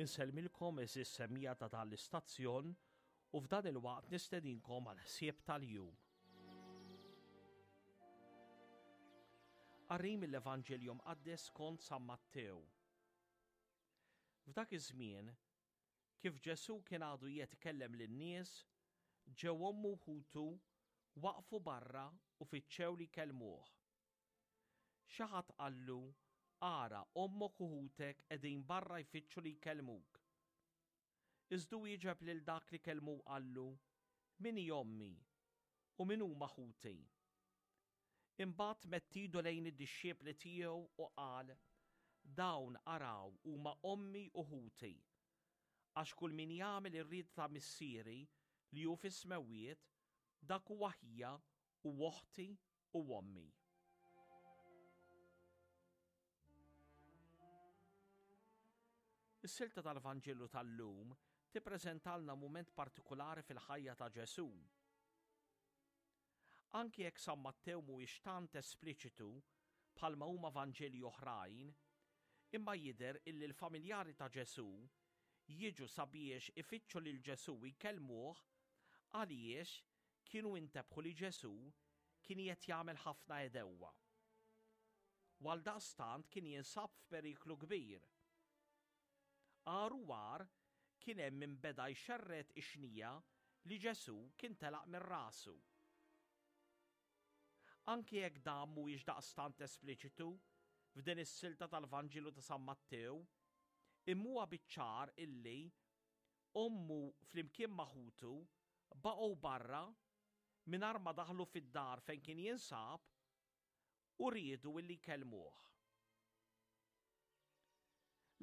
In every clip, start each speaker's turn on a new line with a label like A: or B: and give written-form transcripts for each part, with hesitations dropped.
A: Insellmilkom għeżież semmiegħa ta' dan l-istazzjon u f'dan il-waqt nistedinkom għal ħsieb tal-jum. Qari mill-Evanġelju Mqaddes skont San Mattew. F'dak iż-żmien, kif Ġesù kien għadu qiegħed ikellem lin-nies, ġew ommu u ħutu waqfu barra u fittxew li jkellmuh. Xi ħadd qallu, Ara, ommok u ħutek qegħdin barra jfittxu li jkellmuk. Iżda hu wieġeb lil dak li kellmu u qallu, Min hi ommi, u min huma ħuti? Imbagħad medd idu lejn id-dixxipli tiegħu u qal, Dawn, araw, huma ommi u ħuti. Għax kull min jagħmel ir-rieda ta' Missieri li hu fis-smewwiet, dak huwa ħija u oħti u ommi. Is-silta tal-Vanġelu tal-lum tippreżentalna mument partikulari fil-ħajja ta' Ġesù. Anki jekk San Mattew mhuwiex tant espliċitu bħalma huma Vanġeli oħrajn, imma jidher illi l-familjari ta' Ġesù jiġu sabiex ifittxu lil Ġesù u jkellmuh għaliex kienu intebħu li Ġesù kien qiegħed jagħmel ħafna għedewwa. U għaldaqstant kien jinsab f'periklu kbir. Agħar u agħar kien hemm min beda jxerred ix-xnija li Ġesù kien telaq minn rasu. Anki jekk dan mhuwiex daqstant espliċitu f'din is-silta tal-Vanġelu ta' San Mattew, imma huwa biċ-ċar illi Ommu flimkien ma' ħutu baqgħu barra mingħajr ma daħlu fid-dar fejn kien jinsab u riedu illi jkellmuh.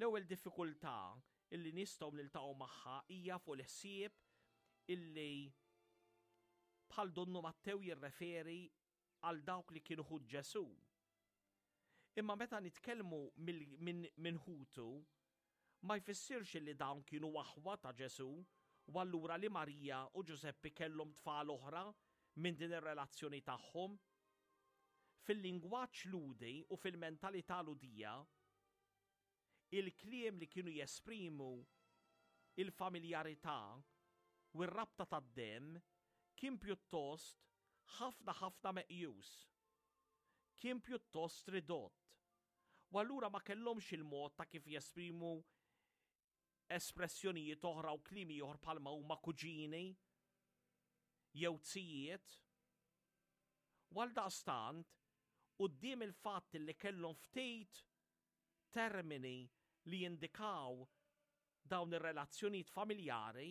A: L-ewwel diffikultà illi nistgħu niltaqgħu magħha hija fuq il-ħsieb illi bħal donnu Mattew jirreferi għal dawk li kienu ħut Ġesù. Imma meta nitkellmu minn ħutu, ma jfissirx li dawn kienu aħwa ta' Ġesù u allura li Marija u Ġużeppi kellhom tfal oħra minn din ir-relazzjoni tagħhom. Fil-lingwaġġ Lhudi u fil-mentalità Lhudija, Il-kliem li kienu jesprimu l-familjarità u r-rabta tad-demm kien pjuttost ħafna ħafna meqjus. Kien pjuttost ridott. U allura ma kellhomx il-mod ta' kif jesprimu espressjonijiet oħra u kliem ieħor bħalma huma kuġini jew zijiet. U għaldaqstant, quddiem il-fatt li kellhom ftit termini li jindikaw dawn ir-relazzjonijiet familjari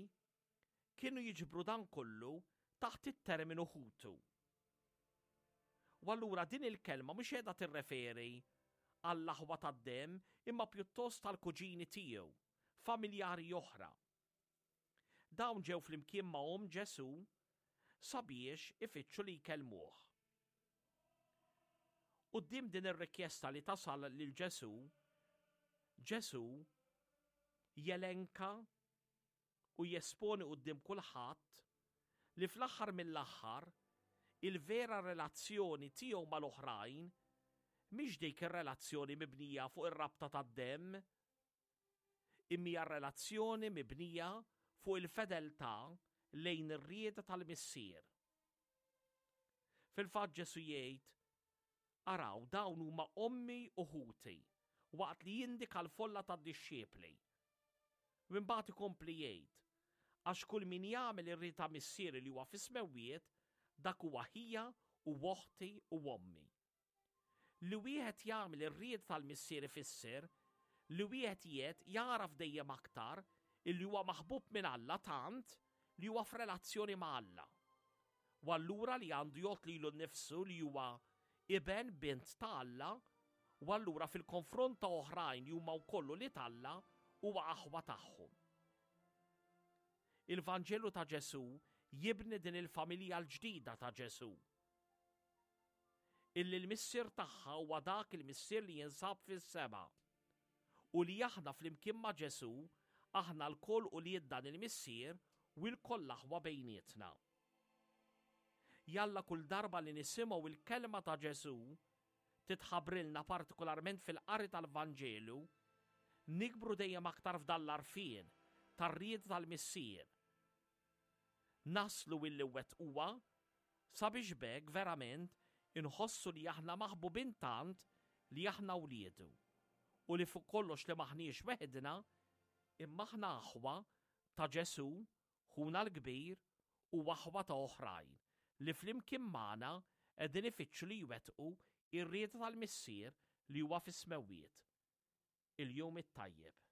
A: kienu jiġbru dan kollu taħt it-terminu ħutu. U allura din il-kelma mhux qiegħda tirreferi għall-aħwa tad-demm imma pjuttost għall-kuġini tiegħu, familjari oħra. Dawn ġew flimkien ma' omm Ġesù sabiex ifittxu li jkellmuh. Quddiem din ir-rikjesta li tasal lil Ġesù, Ġesù jelenka u jesponi quddiem kulħadd li fl-aħħar mill-aħħar il-vera relazzjoni tiegħu mal-oħrajn mhix dik ir-relazzjoni mibnija fuq ir-rabta tad-demm, imma hija relazzjoni mibnija fuq il-fedeltà lejn ir-rieda tal-Missier. Fil-fatt Ġesù jgħid, Araw, dawn huma ommi u ħuti, waqt li jindika l-folla tad-dixxipli. U imbagħad ikompli jgħid, Għax kull min jagħmel ir-rieda ta' Missieri li huwa fis-smewwiet, dak huwa ħija u oħti u ommi. Li wieħed jagħmel ir-rieda tal-Missier ifisser li wieħed qiegħed jagħraf dejjem aktar illi huwa maħbub minn Alla tant li huwa f'relazzjoni ma' Alla. U allura li għandu jgħodd lilu nnifsu li huwa iben, bint ta' Alla, u allura fil-konfront ta' oħrajn li huma wkoll ulied Alla huwa aħwa tagħhom. Il-Vanġelu ta' Ġesù jibni din il-familja l-ġdida ta' Ġesù. Illi l-Missier tagħha huwa dak il-Missier li jinsab fis-sema u li aħna flimkien ma' Ġesù aħna lkoll ulied dan il-Missier u lkoll aħwa bejnietna. Jalla kull darba li nisimgħu il-kelma ta' Ġesù titħabbrilna partikolarment fil-qari tal-Vanġelu, Nikbru dejjem aktar f'dan l-għarfien tar-rieda tal-Missier. Naslu illi wettquha sabiex b'hekk verament inħossu li aħna maħbubin tant li aħna wliedu u li fuq kollox li m'aħniex weħidna imma aħna aħwa ta' Ġesù, ħuna l-kbir, u aħwa ta' oħrajn li flimkien magħna qegħdin ifittxu li jwettqu r-rieda tal-Missier li huwa fis-smewwiet. Il-Jum it-Tajjeb.